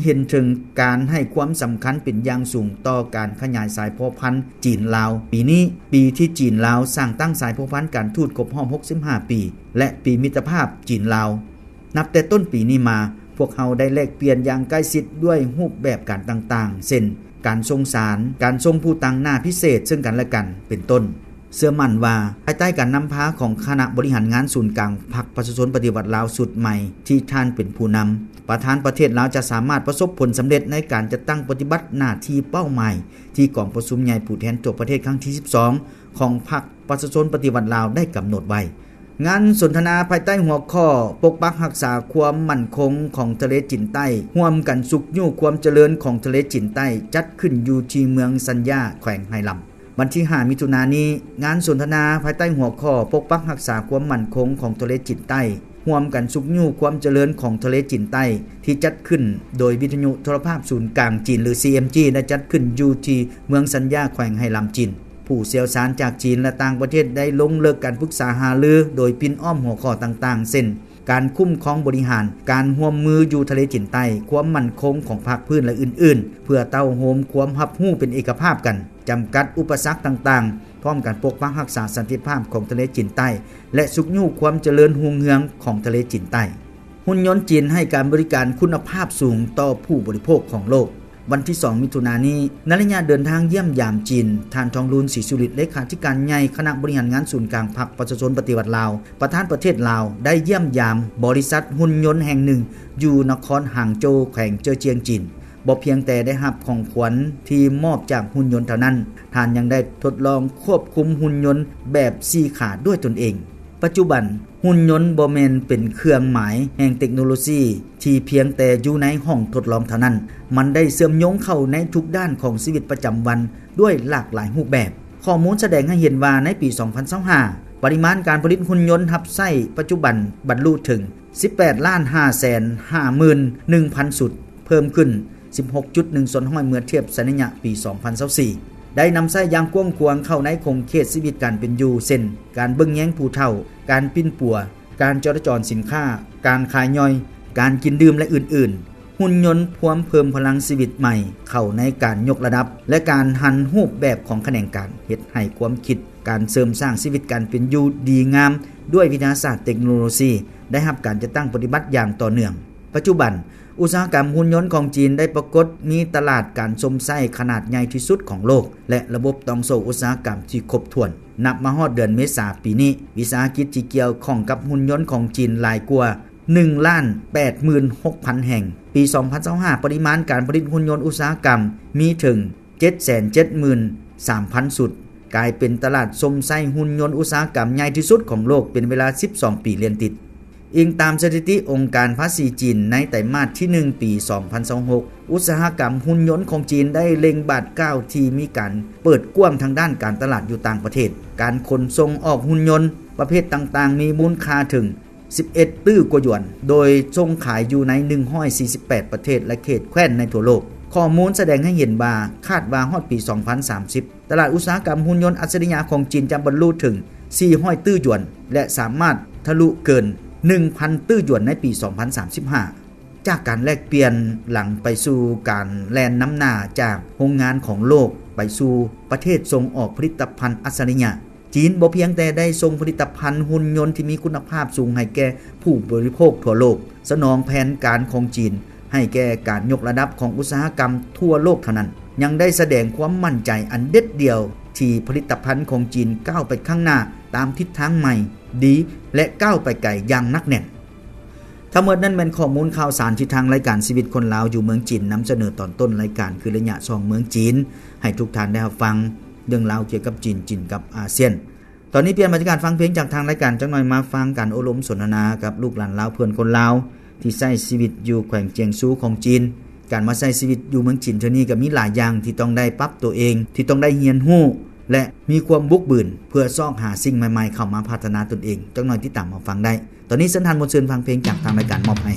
ເຫັນເຖິງການໃຫ້ຄວາມສຳຄັນເປັນຢ່າງສູງຕໍ່ການຂະຫຍາຍສາຍພົວພັນຈີນ-ລາວ. ປີນີ້ ປີທີ່ຈີນ-ລາວສ້າງຕັ້ງສາຍພົວພັນການທູດຄົບຮອບຫົກສິບຫ້າປີ ແລະ ປີມິດຕະພາບຈີນ-ລາວ. ນັບແຕ່ຕົ້ນປີນີ້ມາ, ພວກເຮົາໄດ້ແລກປ່ຽນຢ່າງໃກ້ຊິດດ້ວຍຮູບແບບການຕ່າງໆ ເຊັ່ນ ການສົ່ງສານ, ການສົ່ງຜູ້ຕາງໜ້າພິເສດເຊິ່ງກັນແລະກັນ ເປັນຕົ້ນ. ເຊື່ອໝັ້ນວ່າ ພາຍໃຕ້ການນຳພາຂອງຄະນະບໍລິຫານງານສູນກາງພັກປະຊາຊົນປະຕິວັດລາວຊຸດໃໝ່ທີ່ທ່ານເປັນຜູ້ນຳ, ປະທານປະເທດລາວຈະສາມາດປະສົບຜົນສຳເລັດໃນການຈັດຕັ້ງປະຕິບັດໜ້າທີ່ເປົ້າໝາຍທີ່ກອງປະຊຸມໃຫຍ່ຜູ້ແທນທົ່ວປະເທດຄັ້ງທີສິບສອງ ຂອງພັກປະຊາຊົນປະຕິວັດລາວໄດ້ກຳນົດໄວ້. ງານສົນທະນາພາຍໃຕ້ຫົວຂໍ້ ປົກປັກຮັກສາຄວາມໝັ້ນຄົງຂອງທະເລຈີນໃຕ້, ຮ່ວມກັນຊຸກຍູ້ຄວາມຈະເລີນຂອງທະເລຈີນໃຕ້ ຈັດຂຶ້ນຢູ່ທີ່ເມືອງສັນຢາ ແຂວງໄຮ່ລຳ. ວັນທີຫ້າ ມິຖຸນານີ້, ງານສົນທະນາພາຍໃຕ້ຫົວຂໍ້ ປົກປັກຮັກສາຄວາມໝັ້ນຄົງຂອງທະເລຈີນໃຕ້, ຮ່ວມກັນຊຸກຍູ້ຄວາມຈະເລີນຂອງທະເລຈີນໃຕ້ ທີ່ຈັດຂຶ້ນໂດຍວິທະຍຸໂທລະພາບສູນກາງຈີນ ຫຼື ຊີເອັມຈີ ໄດ້ຈັດຂຶ້ນຢູ່ທີ່ເມືອງສັນຢາ ແຂວງໄຮ່ລຳ ຈີນ. ຜູ້ຊ່ຽວຊານຈາກຈີນ ແລະ ຕ່າງປະເທດໄດ້ລົງເລິກການປຶກສາຫາລືໂດຍປິ່ນອ້ອມຫົວຂໍ້ຕ່າງໆ ເຊັ່ນ ການຄຸ້ມຄອງບໍລິຫານ, ການຮ່ວມມືຢູ່ທະເລຈີນໃຕ້, ຄວາມໝັ້ນຄົງຂອງພາກພື້ນ ແລະ ອື່ນໆ ເພື່ອເຕົ້າໂຮມຄວາມຮັບຮູ້ເປັນເອກະພາບກັນ, ຈຳກັດອຸປະສັກຕ່າງໆ, ພ້ອມກັນປົກປັກຮັກສາສັນຕິພາບຂອງທະເລຈີນໃຕ້ ແລະ ຊຸກຍູ້ຄວາມຈະເລີນຮຸ່ງເຮືອງຂອງທະເລຈີນໃຕ້. ຫຸ່ນຍົນຈີນໃຫ້ການບໍລິການຄຸນນະພາບສູງຕໍ່ຜູ້ບໍລິໂພກຂອງໂລກ. ວັນທີສອງ ມິຖຸນານີ້, ໃນໄລຍະເດີນທາງຢ້ຽມຢາມຈີນ, ທ່ານ ທອງລຸນ ສີສຸລິດ ເລຂາທິການໃຫຍ່ຄະນະບໍລິຫານງານສູນກາງພັກປະຊາຊົນປະຕິວັດລາວ, ປະທານປະເທດລາວ ໄດ້ຢ້ຽມຢາມບໍລິສັດຫຸ່ນຍົນແຫ່ງໜຶ່ງຢູ່ນະຄອນຫາງໂຈວ ແຂວງເຈີຈຽງ ຈີນ. ບໍ່ພຽງແຕ່ໄດ້ຮັບຂອງຂວັນທີ່ມອບຈາກຫຸ່ນຍົນເທົ່ານັ້ນ, ທ່ານຍັງໄດ້ທົດລອງຄວບຄຸມຫຸ່ນຍົນແບບສີ່ຂາດ້ວຍຕົນເອງ. ປັດຈຸບັນ, ຫຸ່ນຍົນບໍ່ແມ່ນເປັນເຄື່ອງໝາຍແຫ່ງເຕັກໂນໂລຊີທີ່ພຽງແຕ່ຢູ່ໃນຫ້ອງທົດລອງເທົ່ານັ້ນ, ມັນໄດ້ເຊື່ອມໂຍງເຂົ້າໃນທຸກດ້ານຂອງຊີວິດປະຈຳວັນດ້ວຍຫຼາກຫຼາຍຮູບແບບ. ຂໍ້ມູນສະແດງໃຫ້ເຫັນວ່າໃນປີສອງພັນຊາວຫ້າ ປະລິມານການຜະລິດຫຸ່ນຍົນຮັບໃຊ້ປັດຈຸບັນບັນລຸເຖິງສິບແປດລ້ານຫ້າແສນຫ້າໝື່ນໜຶ່ງພັນຊຸດ, ເພີ່ມຂຶ້ນສິບຫົກຈຸດໜຶ່ງສ່ວນຮ້ອຍເມື່ອທຽບໃສ່ໄລຍະປີສອງພັນຊາວສີ່ ໄດ້ນຳໃຊ້ຢ່າງກວ້າງຂວາງເຂົ້າໃນຂົງເຂດຊີວິດການເປັນຢູ່ ເຊັ່ນ ການເບິ່ງແຍງຜູ້ເຖົ້າ, ການປິ່ນປົວ, ການຈໍລະຈອນສິນຄ້າ, ການຂາຍຍ່ອຍ, ການກິນດື່ມ ແລະ ອື່ນໆ. ຫຸ່ນຍົນພວມເພີ່ມພະລັງຊີວິດໃໝ່ເຂົ້າໃນການຍົກລະດັບ ແລະ ການຫັນຮູບແບບຂອງຂະແໜງການ, ເຮັດໃຫ້ຄວາມຄິດການເສີມສ້າງຊີວິດການເປັນຢູ່ດີງາມດ້ວຍວິທະຍາສາດເຕັກໂນໂລຊີ ໄດ້ຮັບການຈັດຕັ້ງປະຕິບັດຢ່າງຕໍ່ເນື່ອງ. ປັດຈຸບັນ, ອຸດສາຫະກຳຫຸ່ນຍົນຂອງຈີນໄດ້ປາກົດມີຕະຫຼາດການຊົມໃຊ້ຂະໜາດໃຫຍ່ທີ່ສຸດຂອງໂລກ ແລະ ລະບົບຕ່ອງໂສ້ອຸດສາຫະກຳທີ່ຄົບຖ້ວນ. ນັບມາຮອດເດືອນເມສາປີນີ້, ວິສາຫະກິດທີ່ກ່ຽວຂ້ອງກັບຫຸ່ນຍົນຂອງຈີນຫຼາຍກວ່າໜຶ່ງລ້ານແປດໝື່ນຫົກພັນແຫ່ງ. ປີສອງພັນຊາວຫ້າ ປະລິມານການຜະລິດຫຸ່ນຍົນອຸດສາຫະກຳມີເຖິງເຈັດແສນເຈັດໝື່ນສາມພັນຊຸດ, ກາຍເປັນຕະຫຼາດຊົມໃຊ້ຫຸ່ນຍົນອຸດສາຫະກຳໃຫຍ່ທີ່ສຸດຂອງໂລກເປັນເວລາສິບສອງປີລຽນຕິດ. ອີງຕາມສະຖິຕິອົງການພາສີຈີນໃນໄຕມາດທີໜຶ່ງປີສອງພັນຊາວຫົກ, ອຸດສາຫະກຳຫຸ່ນຍົນຂອງຈີນໄດ້ເລັ່ງບາດກ້າວທີ່ມີການເປີດກວ້າງທາງດ້ານການຕະຫຼາດຢູ່ຕ່າງປະເທດ. ການຂົນສົ່ງອອກຫຸ່ນຍົນປະເພດຕ່າງໆ ມີມູນຄ່າເຖິງສິບເອັດຕື້ກວ່າຢວນ, ໂດຍສົ່ງຂາຍຢູ່ໃນໜຶ່ງຮ້ອຍສີ່ສິບແປດປະເທດ ແລະ ເຂດແຄວ້ນໃນທົ່ວໂລກ. ຂໍ້ມູນສະແດງໃຫ້ເຫັນວ່າ ຄາດວ່າຮອດປີສອງພັນສາມສິບ ຕະຫຼາດອຸດສາຫະກຳຫຸ່ນຍົນອັດສະລິຍະຂອງຈີນຈະບັນລຸເຖິງສີ່ຮ້ອຍຕື້ຢວນ ແລະ ສາມາດທະລຸເກີນໜຶ່ງພັນຕື້ຢວນໃນປີສອງພັນສາມສິບຫ້າ. ຈາກການແລກປ່ຽນຫຼັງໄປສູ່ການແລ່ນນຳໜ້າຈາກໂຮງງານຂອງໂລກໄປສູ່ປະເທດສົ່ງອອກຜະລິດຕະພັນອັດສະລິຍະ, ຈີນບໍ່ພຽງແຕ່ໄດ້ສົ່ງຜະລິດຕະພັນຫຸ່ນຍົນທີ່ມີຄຸນນະພາບສູງໃຫ້ແກ່ຜູ້ບໍລິໂພກທົ່ວໂລກ, ສະໜອງແຜນການຂອງຈີນໃຫ້ແກ່ການຍົກລະດັບຂອງອຸດສາຫະກຳທົ່ວໂລກເທົ່ານັ້ນ, ຍັງໄດ້ສະແດງຄວາມໝັ້ນໃຈອັນເດັດດ່ຽວທີ່ຜະລິດຕະພັນຂອງຈີນກ້າວໄປຂ້າງໜ້າຕາມທິດທາງໃໝ່, ດີ ແລະ ກ້າວໄປໄກຢ່າງໜັກແໜ້ນ. ທັງໝົດນັ້ນແມ່ນຂໍ້ມູນຂ່າວສານທີ່ທາງລາຍການຊີວິດຄົນລາວຢູ່ເມືອງຈີນນຳສະເໜີຕອນຕົ້ນລາຍການ ຄືໄລຍະສ່ອງເມືອງຈີນ ໃຫ້ທຸກທ່ານໄດ້ຮັບຟັງເລື່ອງລາວກ່ຽວກັບຈີນ, ຈີນກັບອາຊຽນ. ຕອນນີ້ປ່ຽນບັນຍາກາດຟັງເພງຈາກທາງລາຍການ, ຈັກໜ່ອຍມາຟັງການໂອ້ລົມສົນທະນາກັບລູກຫຼານລາວເພື່ອນຄົນລາວທີ່ໃຊ້ຊີວິດຢູ່ແຂວງຈຽງຊູຂອງຈີນ. ການມາໃຊ້ຊີວິດຢູ່ເມືອງຈີນເທື່ອນີ້ກໍມີຫຼາຍຢ່າງທີ່ຕ້ອງໄດ້ປັບຕົວເອງ, ທີ່ຕ້ອງໄດ້ຮຽນຮູ້ ແລະ ມີຄວາມບຸກບືນເພື່ອຊອກຫາສິ່ງໃໝ່ໆເຂົ້າມາພັດທະນາຕົນເອງ. ຈັກໜ່ອຍຕິດຕາມມາຟັງໄດ້. ຕອນນີ້ເຊີນທ່ານມ່ວນຊື່ນຟັງເພງຈາກທາງລາຍການມອບໃຫ້.